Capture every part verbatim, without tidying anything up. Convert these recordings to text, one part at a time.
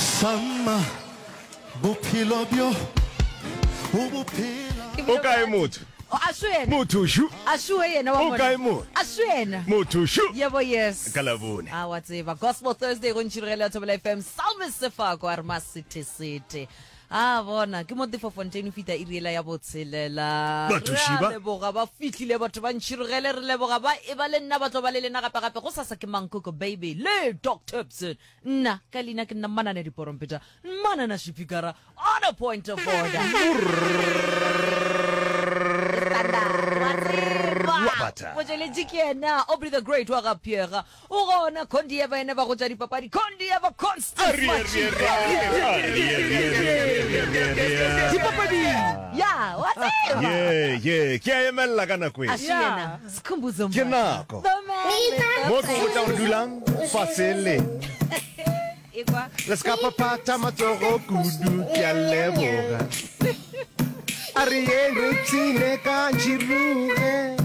Sama bophelo bjo o bo phela. O kae motho? A se yena. Motho šu. A se yena wa O kae motho? A se yena. Motho šu. Yebo yes. Ka Labone. A wa tseba. Gospel Thursday go ntšhirogele ya Thobela F M. Salme Sefako a re masete sete. A bona ke mo Tefo Fontaine o fita iri ela ya botshelela. Batho Re a šiba. leboga ba fihlile batho ba ntšhirogele, re leboga ba e ba le nna ba tlo ba le lena gape gape go sasa ke Mankoko Baby le Doctor Tibson. Nna ka leina ke nna Manane Diporompeta. Manana Shipikara on a point of order. Wabata. Motšweletši ke yena Aubrey the Great wa ga Piega. O gona Condieva ene ba go tša dipapadi Condieva Constance Machika. Ya wa tseba. Ye ye ke a emelela ka nako e. A se yena Sikhumbuzo Ke Mbatha. nako. The man with the Mo ke botša gore dulang fase le. Ekwa. Le ska phaphatha matsogo kudu, ke a leboga. A re yeng re ipshine ka ntšhiruge.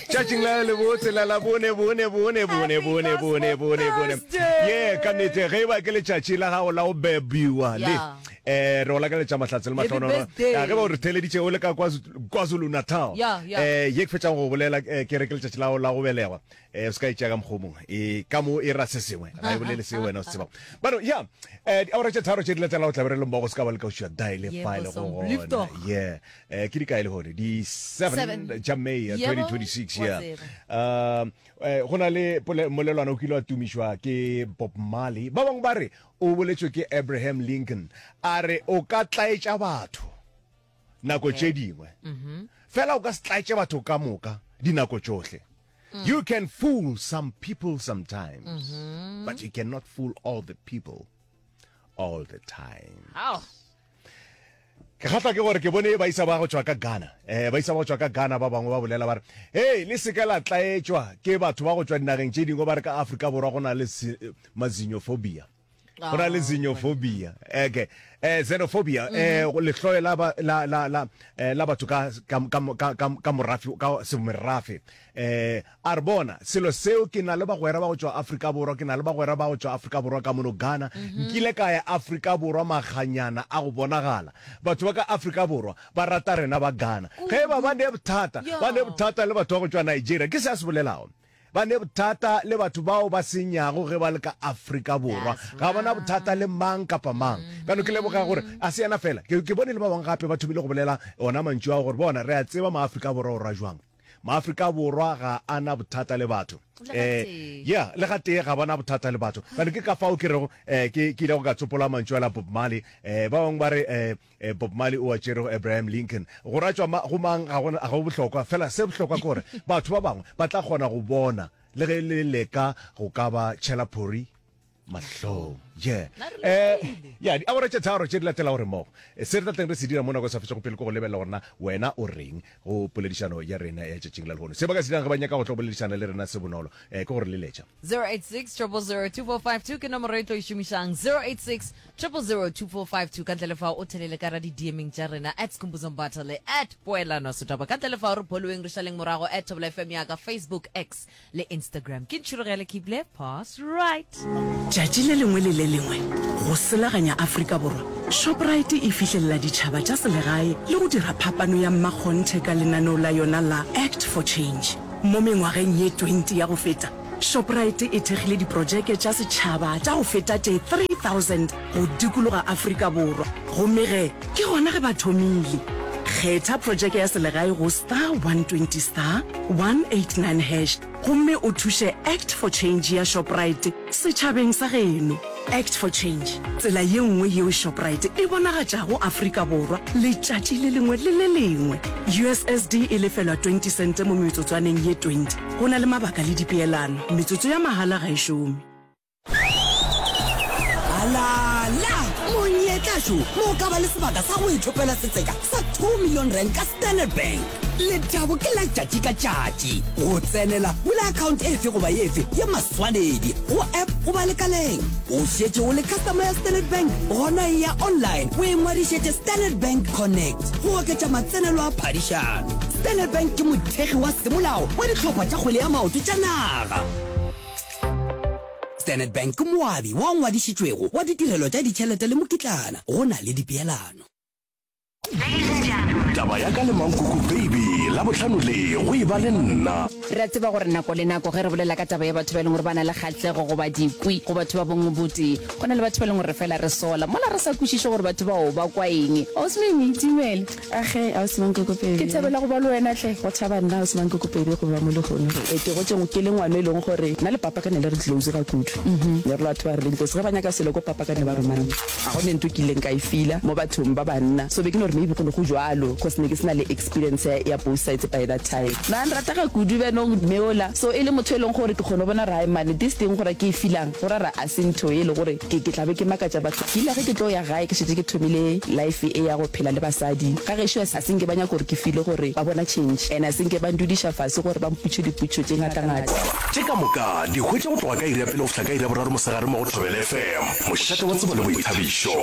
Tšatšing la le botse la la bone bone bone bone bone bone bone bone. Thursday. Ye ka nnete ge e ba ke letšatši la gago la go bebiwa le Yeah. eh re o lakaletša mahlatse le Happy mahlonono. birthday. Ya, ge ba o re theleditše o le ka KwaZulu Natal. Yeah, yeah. Eh ye ke fetšang go bolela eh, ke re ke letšatši la gago la go belegwa. Eh o se ka itšea ka mokgwa o mongwe. E ka mo e ra se sengwe. Ga e bolele se wena o se tsebang. Bano ya eh diawara tše tharo tše di latelago tla be re le mmogo se ka ba le ka ušwa die le Yebo, fa le go gona. sombliftoch. Yeah. Eh ke di kae le gone? Di seven Seven. tša May Yebo, twenty twenty-six wa yeah. tseba. Um eh, go na le pole- molelwana o kile wa tumišwa ke Bob Marley. Ba bangwe ba re o boletšwe ke Abraham Lincoln. A re o ka tlaetša batho nako tše dingwe. Fela o ka se tlaetše batho ka moka dinako tšohle. You can fool some people sometimes, but you cannot fool all the people all the time. Ao. Ke kgahlwa ke gore ke bone baisa ba go tšwa ka Ghana. Eh baisa ba go tšwa ka Ghana ba bangwe ba bolela ba re, "Hey, le se ke la tlaetšwa ke batho ba go tšwa dinageng tše dingwe ba re ka Afrika Borwa go na le mazinophobia." Go na le xenophobia. Okay. Eh xenophobia eh go lehloyo la ba la la la eh, la batho ka ka ka ka ka morafe ka semerafe. Eh a re bona selo seo, ke na le bagwera ba go tšwa Afrika Borwa, ke na le bagwera ba go tšwa Afrika Borwa ka mono Ghana. Nkile ka ya Afrika Borwa maganyana a go bonagala. Batho ba ka Afrika Borwa ba rata rena ba Ghana. Ge ba ba ne bothata, ba ne bothata le batho ba go tšwa Nigeria. Ke se a se bolelago. Ba ne bothata le batho bao ba senyago ge ba le ka Afrika Borwa. Ga bona bothata le mang kapa mang. Bjano ke leboga gore a se yena fela. Ke ke bone le ba bangwe gape ba thomile go bolela ona mantšu ao gore bona re a tseba maAfrika Borwa o ra jwang. MaAfrika Borwa ga a na bothata le batho. Le Eh gatee. Yeah, le gatee ga bona bothata le batho. Bjano ke ka fao ke rego eh ke ke ile go ka tsopola mantšu a la Bob Marley. Eh ba bangwe ba re eh eh, Bob Marley o a tšere go Abraham Lincoln. Go ratšwa ma, go mang ga gona ga go bohlokwa, fela se bohlokwa ke gore batho ba bangwe ba tla kgona go bona le ge le leka go ka ba tšhela phori mahlong. Yeah. Nna re Eh lebogile. ya diawara tše tharo tše di latela gore mmogo. Eh, Se re tla teng re se dira mo nako e sa fetšego pele ke go lebelela gore na wena o reng go poledišano ya rena ya tšatšing la lehono. Se ba ka se dirang ge ba nyaka go tlo boledišana le rena se bonolo eh ke gore leletša. zero eight six, zero zero zero, two four five two ke nomoro e tlo e šomišang, zero eight six, zero zero zero, two four five two. Ka ntle le fao o thelele ka ra di-D Meng tša rena at Skhumbuzo Mbatha le at Poelano Setaba. Ka ntle le fao re following re šaleng morago at Thobela F M ya ka Facebook, X le Instagram. Ke Ntšhirogele, keep left pass right. Tšatši le lengwe le le lengwe go selaganya Afrika Borwa, Shoprite e fihlelela ditšhaba tša selegae le go dira phapano ya mmakgonthe ka lenaneo la yona la Act for Change. Mo mengwageng ye twenty ya go feta, Shoprite e thekgile diprojeke tša setšhaba tša go feta tše three thousand go dikologa Afrika Borwa, gomme ge ke gona ge ba thomile. Kgetha projeke ya selegae go star one twenty star one eight nine hash gomme o thuše Act for Change ya Shoprite setšhabeng sa geno. Act for Change, tsela ye nngwe yeo Shoprite e bonagatšago Afrika Borwa letšatši le lengwe le le lengwe. U S S D e lefelwa twenty sente mo metsotswaneng ye twenty. Go na le mabaka le dipeelano. Metsotso ya mahala ga e šome. Alala monyetlašo mo o ka ba le sebaka sa go ithopela setseka sa two million rand ka Standard Bank. Lethabo ke la tšatši ka tšatši. Go tsenela, bula account efe goba efe ye maswanedi go app goba lekaleng. O šetše o le customer ya Standard Bank? Gona e ya online o ingwadišetše Standard Bank Connect go oketša matsenelo a phadišano. Standard Bank ke mothekgi wa semolao wa dihlopha tša kgwele ya maoto tša naga. Standard Bank ke moabi wa ngwadišitšwego wa ditirelo tša ditšhelete le mokitlana go na le dipeelano. Taba ya ka le Mankoko Baby, Labohlano le go e ba le nna. Re a tseba gore nako le nako ge re bolela ka taba ya batho ba e leng gore ba na le kgahlego goba dikwi go batho ba bongwe botee, go na le batho ba e leng gore re fela re sola mola re sa kwešiše gore batho bao ba kwa eng. Ausi Mimi, dumela. Age, Ausi Mankoko Baby. Ke thabela go ba le wena hle. Go thaba nna, Ausi Mankoko Baby, go ba mo lehono. Ee, ke gotše ke le ngwana e leng gore nna le papa ka ne le re close ga kudu. Ne re le batho ba re leng close. Ge ba nyaka selo ko papa ka ne ba roma nna. Ga go ne ntho e ke ileng ka e feela mo bathong ba banna. So be ke no re maybe go ne go jwalo cause ne ke se na le experience ya, ya both sides by that time. Na nrata ga kudu bjanong mme ola. So e le motho e leng gore ke kgona go bona gore hai mane this thing gore ke e feelang go ra re a se ntho e le gore ke, ke tla be ke makatša batho. Ke ile ge ke tlo ya gae ke šetše ke thomile life e ya go phela le basadi. Ga gešo a se nke ba nyaka gore ke feele gore ba bona change and a se nke ba ndudiša fase gore ba mpotše dipotšišo tše ngatangata. Tše ka moka di hwetša go tloga ka iri ya pele go fihla ka iri ya boraro mosegare mo go Thobela F M, mošate wa tsebo le boithabišo.